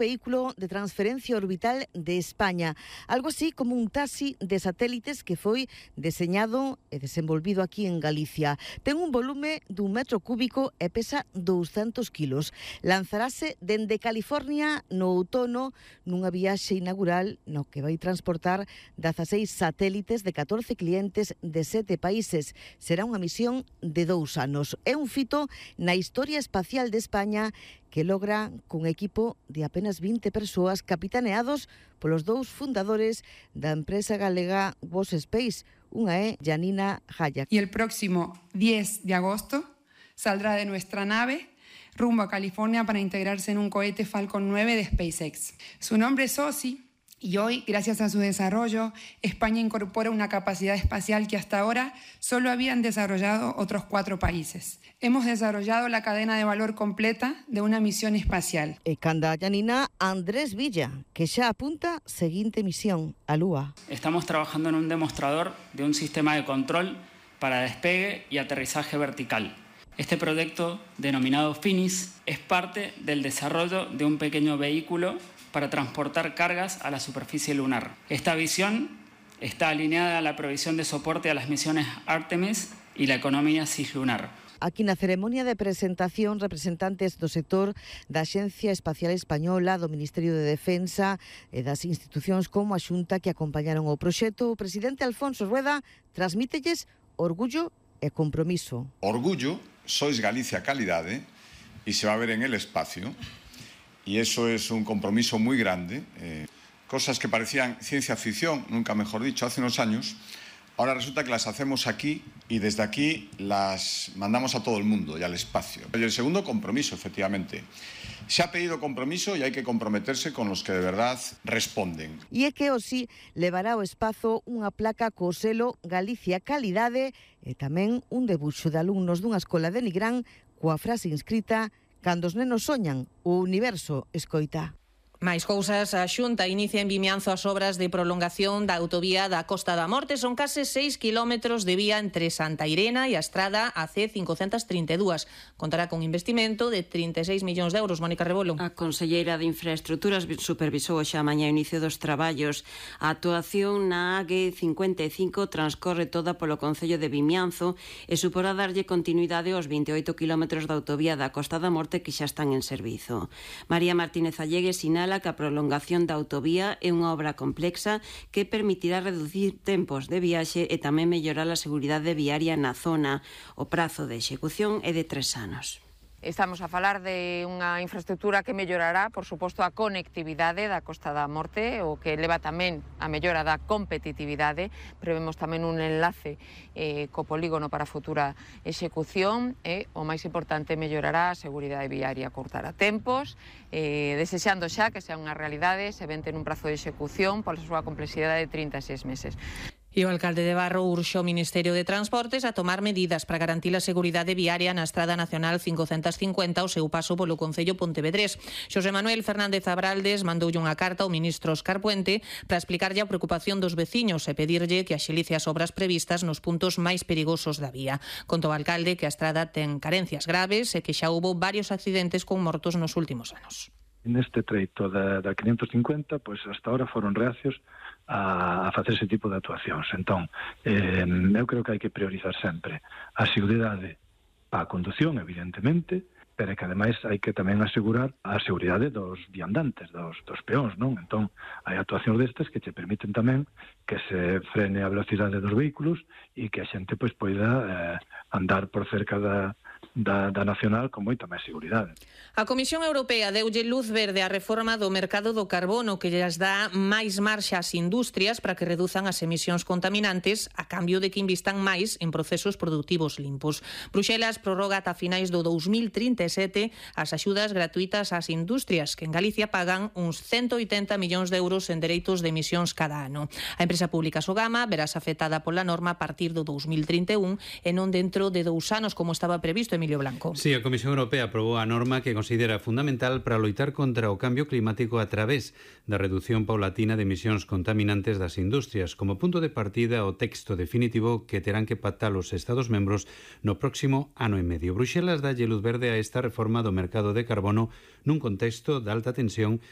vehículo de transferencia orbital de España, algo así como un taxi de satélites que foi deseñado e desenvolvido aquí en Galicia. Ten un volume dun metro cúbico e pesa 200 kilos. Lanzarase dende California no outono nunha viaxe inaugural no que vai transportar 16 satélites de 14 clientes de 7 países. Será unha misión de 2 anos. É un fito na historia espacial de España que logra cun equipo de apenas 20 persoas capitaneados polos dous fundadores da empresa galega WOS Space. Unha é Janina Hayek. Y el próximo 10 de agosto saldrá de nuestra nave rumbo a California para integrarse en un cohete Falcon 9 de SpaceX. Su nombre es OSI. Y hoy, gracias a su desarrollo, España incorpora una capacidad espacial que hasta ahora solo habían desarrollado otros 4 países. Hemos desarrollado la cadena de valor completa de una misión espacial. E canda Janina, Andrés Villa, que xa apunta seguinte misión, a Lúa. Estamos trabajando en un demostrador de un sistema de control para despegue y aterrizaje vertical. Este proyecto, denominado Finis, es parte del desarrollo de un pequeño vehículo para transportar cargas a la superficie lunar. Esta visión está alineada a la provisión de soporte a las misiones Artemis y la economía cislunar. Aquí na ceremonia de presentación, representantes do sector da Axencia Espacial Española, do Ministerio de Defensa e das institucións como a Xunta que acompañaron o proxecto, o presidente Alfonso Rueda transmítelles orgullo e compromiso. Orgullo, sois Galicia calidade e se va a ver en el espacio. Y eso es un compromiso muy grande. Cosas que parecían ciencia ficción, nunca mejor dicho, hace unos años, ahora resulta que las hacemos aquí y desde aquí las mandamos a todo el mundo y al espacio. Y el segundo, compromiso, efectivamente. Se ha pedido compromiso y hay que comprometerse con los que de verdad responden. E é que OSI levará ao espazo unha placa co selo Galicia Calidade e tamén un debuxo de alumnos dunha escola de Nigrán coa frase inscrita: cando os nenos soñan, o universo escoita. Máis cousas, a Xunta inicia en Vimianzo as obras de prolongación da autovía da Costa da Morte. Son case 6 kilómetros de vía entre Santa Irena e a estrada AC532. Contará con investimento de 36 millóns de euros. Mónica Rebolo. A conselleira de Infraestructuras supervisou xa mañá o inicio dos traballos. A actuación na AG55 transcorre toda polo concello de Vimianzo e suporá darlle continuidade aos 28 kilómetros da autovía da Costa da Morte que xa están en servizo. María Martínez Allegues sinala que a prolongación da autovía é unha obra complexa que permitirá reducir tempos de viaxe e tamén mellorar a seguridade viaria na zona. O prazo de execución é de 3 anos. Estamos a falar de unha infraestructura que mellorará, por suposto, a conectividade da Costa da Morte, o que leva tamén a mellora da competitividade. Prevemos tamén un enlace co polígono para a futura execución e, o máis importante, mellorará a seguridade viaria, cortará tempos, desexando xa que sea unha realidade, se vente nun prazo de execución pola súa complexidade de 36 meses. E o alcalde de Barro urxe ao Ministerio de Transportes a tomar medidas para garantir a seguridade viaria na Estrada Nacional 550 ao seu paso polo concello pontevedrés. Xosé Manuel Fernández Abraldes mandoulle unha carta ao ministro Óscar Puente para explicarlle a preocupación dos veciños e pedirlle que axilice as obras previstas nos puntos máis perigosos da vía. Contou o alcalde que a estrada ten carencias graves e que xa houbo varios accidentes con mortos nos últimos anos. Neste treito da 550, pois hasta ahora foron reacios a facer ese tipo de actuacións. Entón, eu creo que hai que priorizar sempre a seguridade para a condución, evidentemente, pero que ademais hai que tamén asegurar a seguridade dos viandantes, dos peóns, non? Entón, hai actuacións destas que te permiten tamén que se frene a velocidade dos vehículos e que a xente pois poida andar por cerca da nacional con moita máis seguridade. A Comisión Europea deulle luz verde á reforma do mercado do carbono que lles dá máis marxa ás industrias para que reduzan as emisións contaminantes a cambio de que invistan máis en procesos productivos limpos. Bruxelas prorroga ata finais do 2037 as axudas gratuitas ás industrias que en Galicia pagan uns 180 millóns de euros en dereitos de emisións cada ano. A empresa pública Sogama verás afectada pola norma a partir do 2031 e non dentro de 2 anos como estaba previsto. Emilio Blanco. Sí, a Comisión Europea aprobou a norma que considera fundamental para loitar contra o cambio climático a través da reducción paulatina de emisións contaminantes das industrias. Como punto de partida, o texto definitivo que terán que pactar os Estados membros no próximo ano e medio. Bruxelas dalle luz verde a esta reforma do mercado de carbono nun contexto de alta tensión